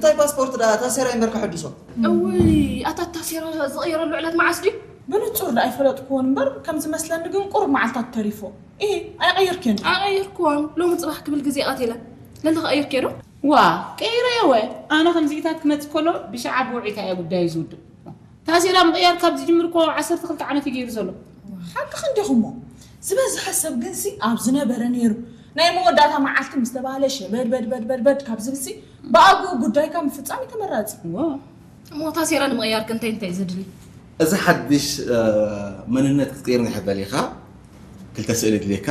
እንታይ ፓስፖርት ደኣ ታሴራ እምበር ከሐድሶ። እውይ፣ ኣታ ታሴራ ዝቕየረሉ ዕለት መዓስ ድዩ? ብንጹር ደኣ ኣይፈለጥኩዎን እምበር ከም ዝመስለኒ ግን ቁሩብ መዓልታት ተሪፎ። እሂ፣ ኣይቐየርክዮን ድዩ? ኣይቐየርክዎን። ሎሚ ጽባሕ ክብል ግዜ ቀቲለ። ለሊ ከቐይርክዮ ዶ? ዋ፣ ቀይረዮ ወ። ኣነ ከምዚኢታት ክመጽእ ከሎ ብሻዓ ብውዒታ እየ ጉዳዩ ዝውድእ። ታሴራ ምቕያር ካብ ዝጅምር እኮ ዓሰርተ ክልተ ዓመት እዩ ገይሩ ዘሎ። ሓቅኺ እንዲኹሞ። ዝበዝሐ ሰብ ግንሲ ኣብ ዝነበረ ነይሩ። ናይ መወዳእታ መዓልቲ ምስ ተባህለ ሸበድበድበድበድበድ ካብ ዝብልሲ ብኣግኡ ጉዳይካ ምፍጻም እዩ ተመራጺ። ዋ። እሞ ታሴራ ንምቕያር ከ እንታይ እንታይ ዘድሊ? እዚ ሓድሽ መንነት ክትቅይር ንሕበል ኢኻ። ክልተ ስእሊ ድልየካ፣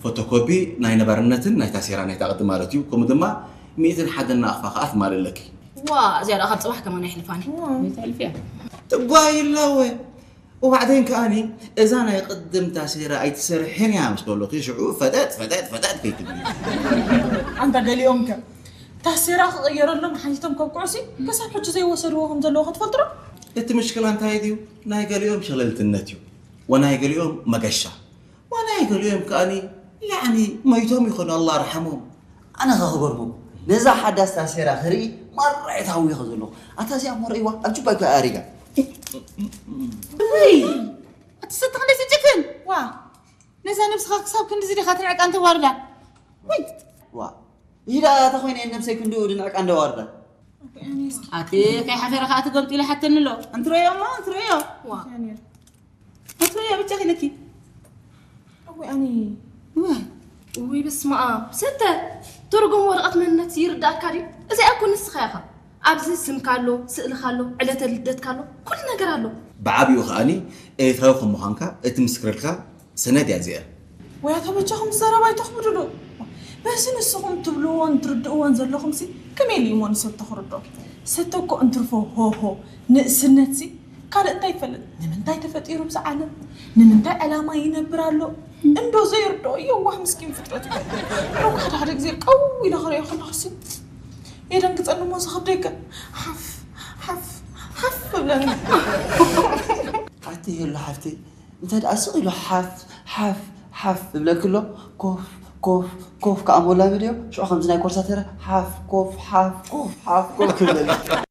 ፎቶኮፒ ናይ ነባርነትን ናይ ታሴራ ናይ ታቕዲ ማለት እዩ። ከምኡ ድማ ሚእትን ሓደን ናቕፋ ከኣ ትማልእ ኣለኪ። ዋ፣ እዚኣ ደኣ ካብ ጽባሕ ከማን ኣይሕልፋኒ። ትጓይ ኣለወ። እዋዕደን ከኣኒ እዛ ናይ ቅድም ታሴራ ኣይትሰርሕን እያ ምስ በሉኺ ሽዑ ፈጠጥ ፈጠጥ ፈጠጥ ከይትብሊ። ኣንታ ገሊኦም ከ ታሴራ ክቕየረሎም ሓቲቶም ከብቅዑሲ ክሳብ ሕጂ ዘይወሰድዎ ከም ዘለዉ ክትፈልጡ ዶ? እቲ ምሽክላ እንታይ ድዩ? ናይ ገሊኦም ሸለልትነት እዩ ወናይ ገሊኦም መገሻ ወናይ ገሊኦም ከኣኒ ያዕኒ መይቶም ይኾኑ ኣላ ርሓሞም። ኣነ ከ ክገርመኩም ነዛ ሓዳስ ታሴራ ክርኢ ማራ እየ ተሃዊኸ ዘለኹ። ኣታ እዚኣ እሞ ረእይዋ ኣብ ጁባ እኮ ኣሪጋ። ውይ ኣቲ ሰቲ ክንደይ ትጭክን ዋ ነዛ ነብስኻ ክሳብ ክንድዚ ዲኻ ትንዕቃ እንተዋርዳ ውይ ዋ ይዳ ተኾይነ ነብሰይ ክንድኡ ድንዕቃ እንደዋርዳ። ኣቲ ከይሓፈረ ከዓ ትገምጢ ኢለ ሓተኒ ኣሎ እንትረዮ እሞ እንትረዮ ዋ እንትረዮ ብቻ ክኢለኪ እወ ኣኒ ውይ በስመ ኣብ ሰተ ትርጉም ወረቐት መንነት ይርዳእካ ድዩ? እዚኣ እኮ ንስኻ ኢኻ። ኣብዚ ስምካ ኣሎ፣ ስእልኻ ኣሎ፣ ዕለተ ልደትካ ኣሎ፣ ኩሉ ነገር ኣሎ። ብዓብኡ ከኣኒ ኤርትራዊ ከም ምዃንካ እትምስክረልካ ሰነድ እያ እዚኣ። ወይ ኣታ በጃኹም ዘረባ ኣይተኽብዱሉ። በዚ ንስኹም ትብልዎን ትርድእዎን ዘለኹምሲ ከመይ ኢሉ እሞ ንሰብ ተኽርዶ? ሰተ እኮ እንትርፎ ሆሆ ንእስነትሲ ካልእ እንታይ ይፈልጥ? ንምንታይ ተፈጢሩ ኣብዚ ዓለም? ንምንታይ ዕላማ ይነብር ኣሎ? እንዶ ዘይርድኦ የዋህ ምስኪን ፍጥረት እኮ። ሮካ ሓደ ሓደ ግዜ ቀው ኢለ ክርእዮ ከለኹሲ የደንግጸኒ እሞ ዝኸብደይ ከ ሓፍ ሓፍ ሓፍ እብለኒ። ኣቲ የሎ ሓፍተይ እንተ ደኣ ስቕ ኢሉ ሓፍ ሓፍ ሓፍ እብለኪ ኣሎ ኮፍ ኮፍ ኮፍ ከዓ ሞላመድ እዮ ሽዑ ከምዚ ናይ ኮርሳተረ ሓፍ ኮፍ ሓፍ ኮፍ ሓፍ ኮፍ ክብለኒ።